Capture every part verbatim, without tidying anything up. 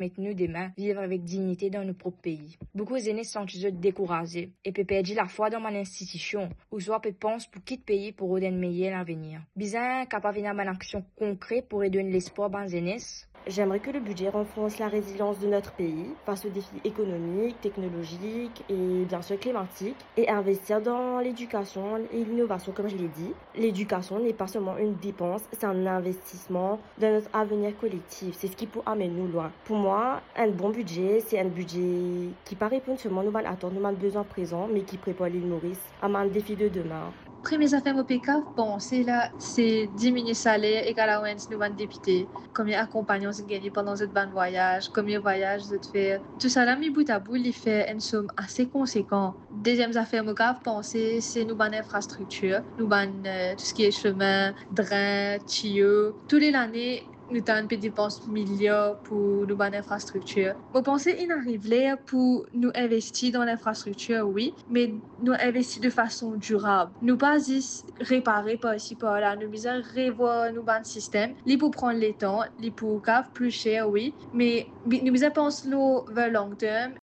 permet nou demin viv avek dignite dan nou prop pei. Boukou zenes santi zot dekouraze e pe perdi lafwa dan bann institision, ouswa pe pans pou kit pei pou rod enn meyer lavenir. Bizin kapav ena bann aksion konkre pou redonn lespwar bann zenes. J'aimerais que le budget renforce la résilience de notre pays face aux défis économiques, technologiques et bien sûr climatiques et investir dans l'éducation et l'innovation, comme je l'ai dit. L'éducation n'est pas seulement une dépense, c'est un investissement dans notre avenir collectif. C'est ce qui peut amener nous loin. Pour moi, un bon budget, c'est un budget qui pas répondre seulement nos bann atant, nos bann bezwin prezan, me ki prepar Lil Moris a bann defi de demin. Premie zafer mo pe kav panse la, se diminie saler ek allowance nou bann depite. Komie akonpagnman zot gagne pandan zot bann vwayaz, komie vwayaz zot fer. Tousala mi bout a bout, li fer enn som ase konsekan. Deziem zafer mo kav panse, se nou bann infrastriktir, nou bann, euh, tou seki semin, drin, tiyo. Tou le lane, nou tann pe depans miliar pou nou bann infrastriktir. Mo panse inn ariv ler pou nou investi dan linfrastriktir, wi, me nou investi de fason dirab. Nou pa zis repare par isi, par la. Nou bizin revwar nou bann sistem. Li pou pran letan, li pou kav pli ser, wi, me bi-, nou bizin pans lor the long term.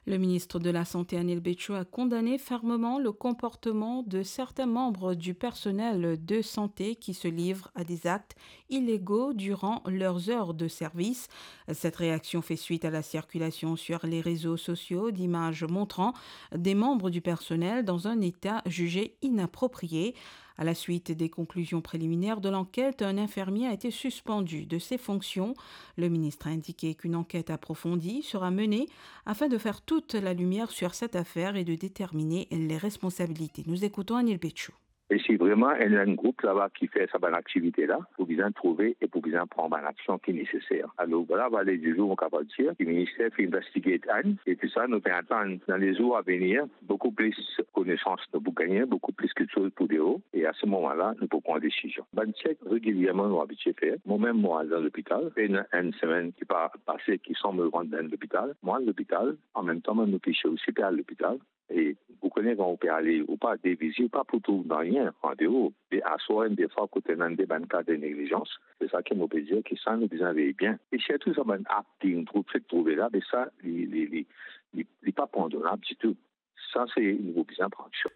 Le ministre de la Santé, Anil Bechu, a condamné fermement le comportement de certains membres du personnel de santé qui se livrent à des actes illégaux durant leurs heures de service. Cette réaction fait suite à la circulation sur les réseaux sociaux d'images montrant des membres du personnel dans un état jugé inapproprié. À la suite des conclusions préliminaires de l'enquête, un infirmier a été suspendu de ses fonctions. Le ministre a indiqué qu'une enquête approfondie sera menée afin de faire toute la lumière sur cette affaire et de déterminer les responsabilités. Nous écoutons Anil Bechu. E si vreman enn, enn group laba ki fer sa bann aktivite la, pou bizin trouve e pou bizin pran bann aksion ki neseser. Alor, vwala, vwala, lezour, mo kapav dir ki minister finn investigate enn, e tou sa, nou pe atann dan lezour avenir, boukou plis konesans, nou pou gagne boukou plis kiksoz pou deor, e a se moman la, nou pou pran desizion. Bann chek regilierman nou abitie fer. Mwa mem mo al dan lopital, pena enn semenn ki pa pase ki san mo rant dan lopital. Mo al lopital, anmemtan bann ofisier osi pe al lopital. E ou kone kan ou pe ale, ou pa de vizit, ou pa pou trouv nanye andeor. E aswar, enn defwa, kot ena de bann ka de neglizans, se sa ki mo pe dir ki sa nou bizin vey bien. E sirtou sa bann app ki nou trouv, fek trouve la, be sa, li, li, li, li, li pa pardonab ditou. Sa, se, nou bizin pran aksyon.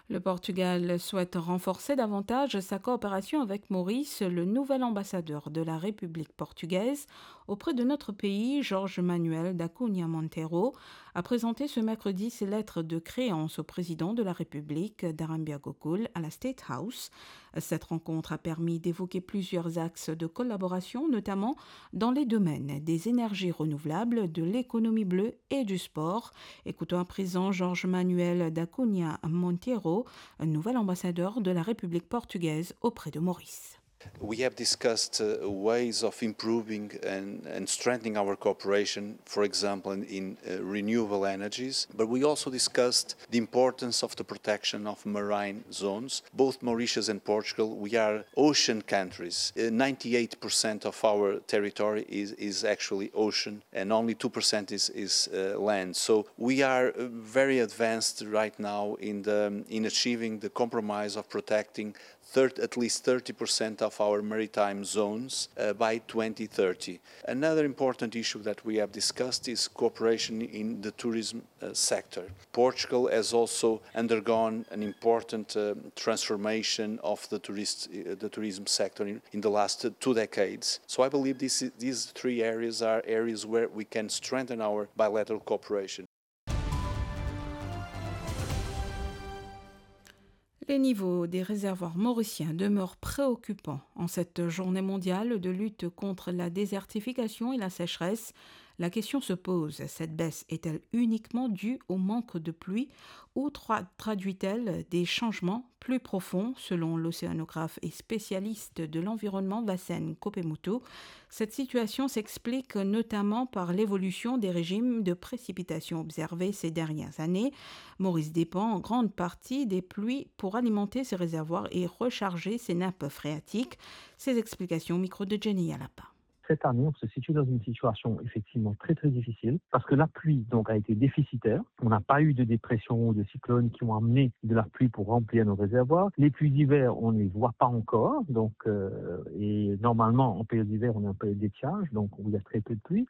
Le Portugal souhaite renforcer davantage sa coopération avec Maurice. Le nouvel ambassadeur de la République portugaise auprès de notre pays, Jorge Manuel da Cunha Monteiro, a présenté ce mercredi ses lettres de créance au président de la République, Darimbia Gokul, à la State House. Cette rencontre a permis d'évoquer plusieurs axes de collaboration, notamment dans les domaines des énergies renouvelables, de l'économie bleue et du sport. Écoutons à présent Jorge Manuel da Cunha Monteiro, nouvel ambassadeur de la République portugaise auprès de Maurice. We have discussed, uh, ways of improving and, and strengthening our cooperation, for example, in, in, uh, renewable energies. But we also discussed the importance of the protection of marine zones. Both Mauritius and Portugal, we are ocean countries. Uh, ninety-eight percent of our territory is, is actually ocean, and only two percent is, is, uh, land. So we are, uh, very advanced right now in the, in achieving the compromise of protecting thirty, at least thirty percent of our maritime zones, uh, by twenty thirty. Another important issue that we have discussed is cooperation in the tourism, uh, sector. Portugal has also undergone an important, uh, transformation of the tourist, uh, the tourism sector in, in the last two decades. So I believe this, these three areas are areas where we can strengthen our bilateral cooperation. Le niveau des réservoirs mauriciens demeure préoccupant. En cette journée mondiale de lutte contre la désertification et la sécheresse, la question se pose, cette baisse est-elle uniquement due au manque de pluie ou tra-, traduit-elle des changements plus profonds ? Selon l'océanographe et spécialiste de l'environnement Vassen Kopemutu, cette situation s'explique notamment par l'évolution des régimes de précipitations observés ces dernières années. Maurice dépend en grande partie des pluies pour alimenter ses réservoirs et recharger ses nappes phréatiques. Ces explications au micro de Jenny Alapa. Cette année, on se situe dans une situation effectivement très, très difficile parce que la pluie, donc, a été déficitaire. On n'a pas eu de dépression ou de cyclone qui ont amené de la pluie pour remplir nos réservoirs. Les pluies d'hiver, on ne les voit pas encore. Donc, euh, et normalement, en période d'hiver, on est en période d'étiage, donc où il y a très peu de pluie.